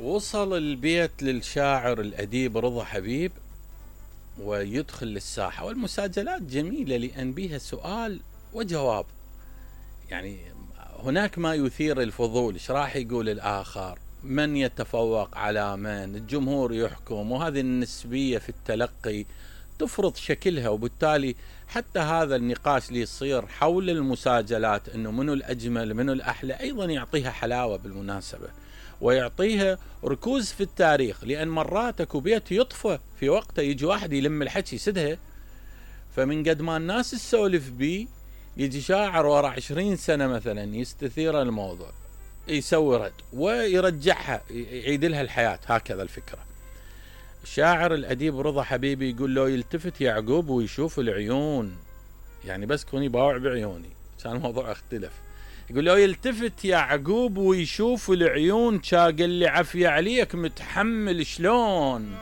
وصل البيت للشاعر الأديب رضا حبيب ويدخل للساحة، والمساجلات جميلة لأن بها سؤال وجواب، يعني هناك ما يثير الفضول، ايش راح يقول الآخر، من يتفوق على من، الجمهور يحكم، وهذه النسبية في التلقي تفرض شكلها. وبالتالي حتى هذا النقاش اللي يصير حول المساجلات انه منو الأجمل منو الأحلى ايضا يعطيها حلاوة بالمناسبة، ويعطيها ركوز في التاريخ، لأن مرات اكو بيت يطفى في وقته يجي واحد يلم الحكي يسدها، فمن قد ما الناس تسولف بيه يجي شاعر ورا 20 سنة مثلا يستثير الموضوع يسوي رد ويرجعها يعيد لها الحياة. هكذا الفكرة. الشاعر الأديب رضا حبيبي يقول له يلتفت يعقوب ويشوف العيون، يعني بس كوني باوع بعيوني كان الموضوع اختلف. يقول له يلتفت يعقوب ويشوف العيون، قال لي عفية عليك متحمل شلون.